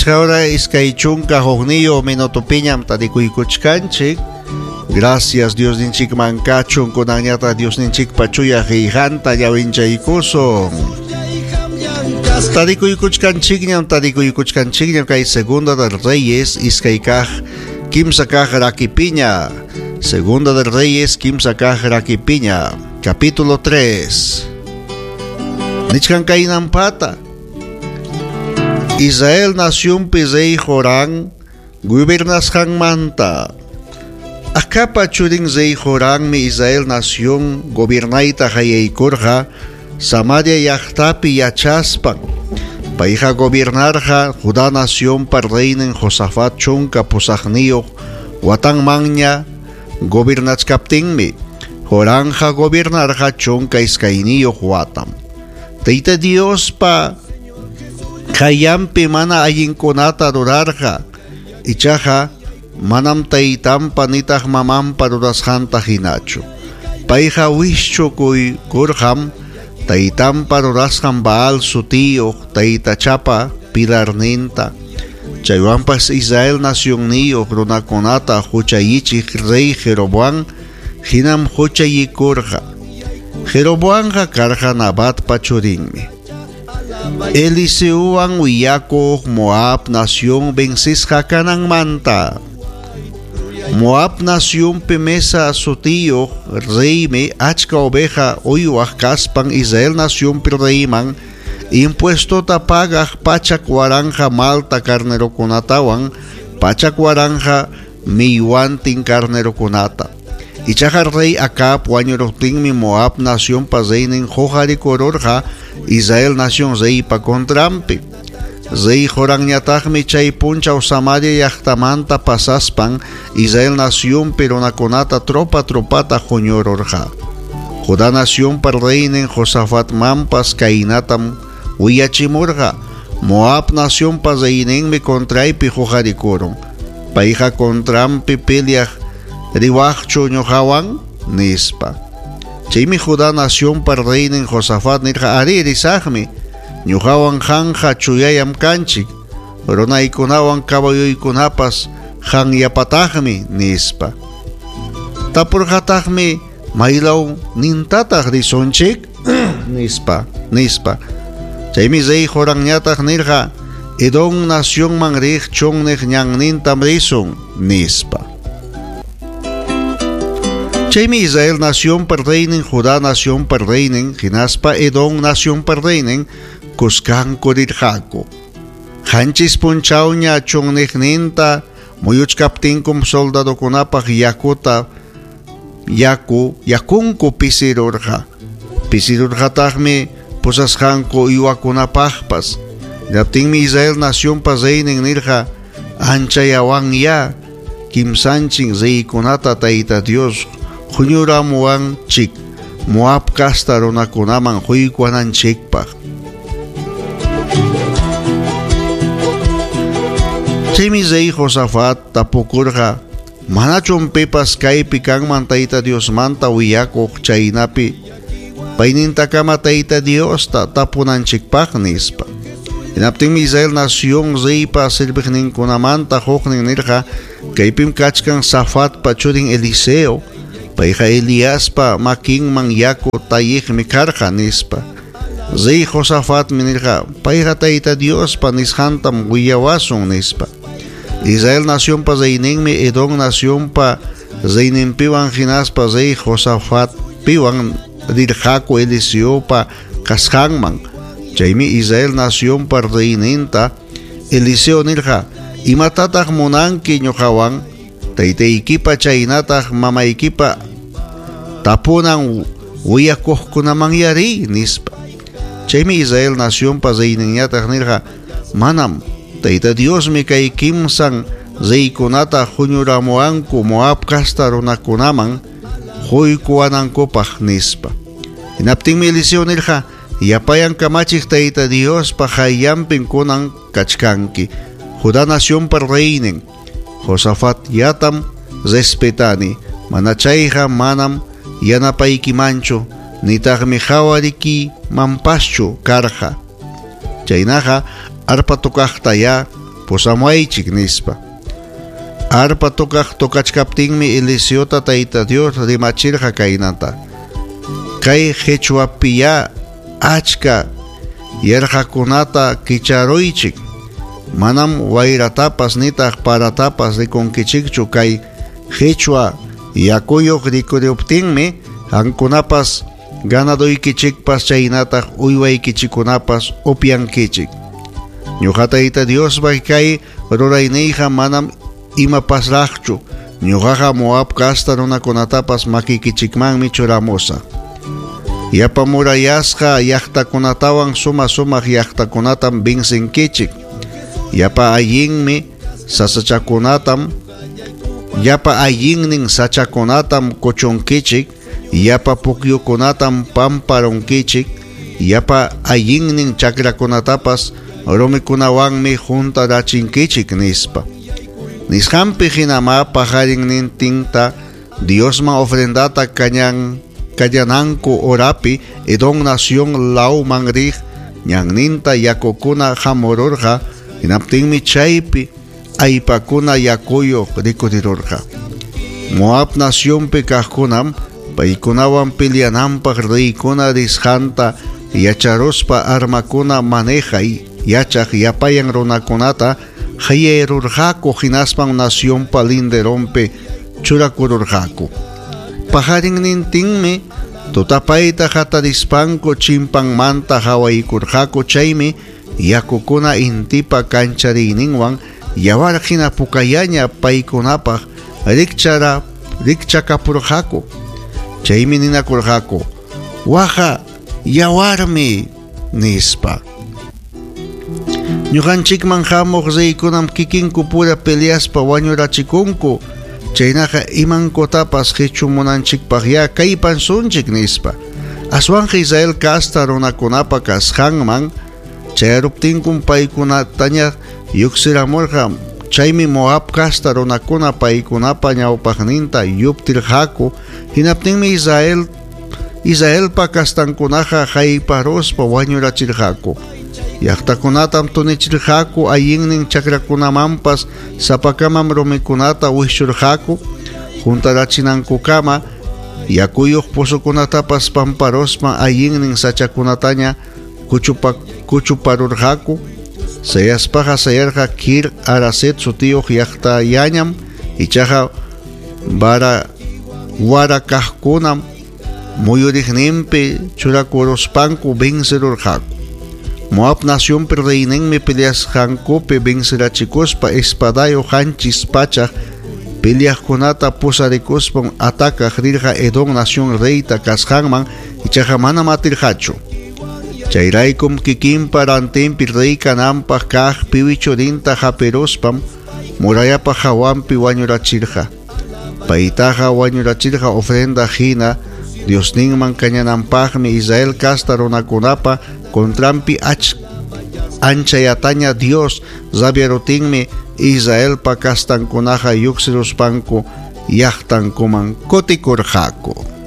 Pichqa hora 21 minutopiñam tarikuykuchkanchik. Gracias Diosninchikman kachun kunanñataq Diosninchikpa chuya qillqanta llawinchaykusun. Tarikuykuchkanchikñam, tarikuykuchkanchikñam kay Segunda del Reyes iskay kaq kimsa kaq rakipiña. Segunda del Reyes kimsa kaq rakipiña. Capítulo 3. Nichkan kaynampata. Israel nacionpi rey Jorán gobernasqanmanta. Acabpa churin rey Joranmi Israel nación gobiernayta qallaykurqa Samaria llaqtapi yachaspan. Payqa gobiernarqa Judá nacionpa reynin Josafat 18 watanmanña gobernachkaptinmi. Joranja gobiernarqa 12 watam. Tayta Diospa qayllanpi mana allinkunata rurarqa, ichaqa manam taytanpa nitaq mamanpa rurasqanta hinachu. Payqa wischukuykurqam taytanpa rurasqan Baal sutiyuq taytachapa pilarninta. Chaywanpas Israel nacionniyuq runakunata huchayichiq rey Jeroboam hinam huchayikurqa. Jeroboamqa karqa Nabatpa churinmi. Eliseuwan willakuq Moab nación vencisqa kananmanta. Moab nacionpi Mesa sutiyuq reymi achka oveja uywaq kaspan Israel nacionpi reyman impuestota pagaq 100,000 malta carnerokunatawan 100,000 millwantin carnerokunata. Ichaqa rey Acab wañuruptinmi Moab nacionpa reynin huqarikururqa Israel nación reypa contranpi. Rey Joranñataqmi chay punchaw Samaria llaqtamanta pasaspan Israel nacionpi runakunata tropa tropata huñururqa. Judá nacionpa reynin Josafatmanpas kaynatam willachimurqa: Moab nacionpa reyninmi contraypi huqarikurun. Payqa contranpi peleaq riwaqchu ñuqawan, nispa. Chaymi Judá nacionpa reynin Josafat nirqa: Ari, risaqmi. Ñuqawan qanqa chuyayam kanchik, runaykunawan caballoykunapas qanyapataqmi, nispa. Tapurqataqmi: Maylaw nintataq risunchik? nispa. Chaymi rey Joranñataq nirqa: Edom nacionman riq chunniq ñannintam risun, nispa. Chaymi Israel nacionpa reynin, Judá nacionpa reynin, hinaspa Edom nacionpa reynin kuskanku rirqaku. 7 punchawña chunniqninta muyuchkaptinkum soldadokunapaq yakunku pisirurqa. Pisirurqataqmi pusasqanku uywakunapaqpas. Hinaptinmi Israel nacionpa reynin nirqa: Anchayawanya kimsanchin reykunata Tayta Dios huñuramuwanchik Moab casta runakunaman huykuwananchikpaq. Chaymi rey Josafat tapukurqa: Manachum pipas kaypi kanman Tayta Diosmanta willakuq chaynapi paynintakama Tayta Diosta tapunanchikpaq, nispa. Hinaptinmi Israel nación reypa serviqninkunamanta huknin nirqa: Kaypim kachkan Safatpa churin Eliseo, payqa Eliaspa makinman yaku talliqmi karqa, nispa. Rey Josafatmi nirqa: Payqa Tayta Diospa nisqantam willawasun, nispa. Israel nacionpa reyninmi Edom nacionpa reyninpiwan hinaspa rey Josafatpiwan rirqaku Eliseopa kasqanman. Chaymi Israel nacionpa reyninta Eliseo nirqa: Imatataq munanki ñuqawan? Taytaykipa chaynataq mamaykipa tapunan willakuqkunaman yari, nispa. Chaymi Israel nacionpa reyninñataq nirqa: Manam, Tayta Diosmi kay kimsan reykunata huñuramuwanku Moab casta runakunaman huykuwanankupaq, nispa. Hinaptinmi Eliseo nirqa: Yapayan kamachiq Tayta Diospa qayllanpim kunan kachkanki. Judá nacionpa reynin Josafat yatam respetani, mana chayqa manam yanapaykimanchu, nitaqmi qhawarikimanpaschu karqa. Chaynaqa arpa tocaqta ya Pusamuwaychik, nispa. Arpa tocaq tocachkaptinmi Eliseota Tayta Dios rimachirqa kaynata: Kay qechwapiyá achka yarqakunata kicharuychik. Manam wayratapas nitaq paratapas rikunkichikchu. Kay qechwa yakuyuq rikuruptinmi qamkunapas ganadoykichikpas chaynataq uywaykichikkunapas upyankichik. Ñuqa Tayta Diospa kay rurayniyqa manam imapasraqchu. Ñuqaqa Moab casta runakunatapas makikichikmanmi churamusaq. Yapa murallasqa llaqtakunatawan suma-sumaq llaqtakunatam vencenkichik. Yapa allinmi sasachakunatam yapa allinnin sachakunatam kuchunkichik, yapa pukyukunatam pamparunkichik, yapa allinnin chakrakunatapas rumikunawanmi huntarachinkichik, nispa. Nisqanpi hinamá paqarinnintinta Diosman ofrendata kañananku horapi Edom nación lawman riq ñanninta yakukuna hamururqa, hinaptinmi chaypi allpakuna yakuyuq rikurirurqa. Moab nacionpi kaqkunam paykunawan peleananpaq reykuna risqanta yacharuspa armakuna manejay yachaq yapayan runakunata qayayrurqaku, hinaspan nacionpa linderonpi churakururqaku. Paqarinnintinmi tutapayta hatarispanku chimpanmanta hawaykurqaku, chaymi yakukuna intipa kanchariyninwan yawar hina pukayaña paykunapaq rikchakapurqaku. Chaymi ninakurqaku: Waqa yawarmi, nispa. Ñuqanchikman hamuq reykunam kikinku pura peleaspa wañurachikunku. Chaynaqa imankutapas qichumunanchikpaqyá kallpansunchik, nispa. Aswanqa Israel casta runakunapa kasqanman chayaruptinkum paykunataña lluqsiramurqa. Chaymi Moab casta runakuna paykunapa ñawpaqninta lluptirqaku. Hinaptinmi Israelpa castankunaqa hayparuspa wañurachirqaku. Llaqtakunatam tunichirqaku, allinnin chakrakunamanpas sapakamam rumikunata wischurqaku. Huntarachinankukama yakuyuq pozokunatapas pamparuspa allinnin sachakunataña kuchuparurqaku. Sayaspaqa sayarqa Kir Haraset sutiyuq llaqtallañam, ichaqa warakaqkunam muyuriqninpi churakuruspanku vencerurqaku. Moab nacionpi reyninmi peleasqankupi vencerachikuspa espadayuq 700 peleaqkunata pusarikuspan atacaq rirqa Edom nación reyta kasqanman, ichaqa manam atirqachu. Chayraykum kikinpa rantinpi rey kananpaq kaq piwi churinta hapiruspam murallapa hawanpi wañurachirqa. Paytaqa wañurachirqa ofrenda hina Diosninman kañananpaqmi Israel casta runakunapa contranpi anchayataña Dios rabiarutinmi Israelpa castankunaqa lluqsiruspanku llaqtankuman kutikurqaku.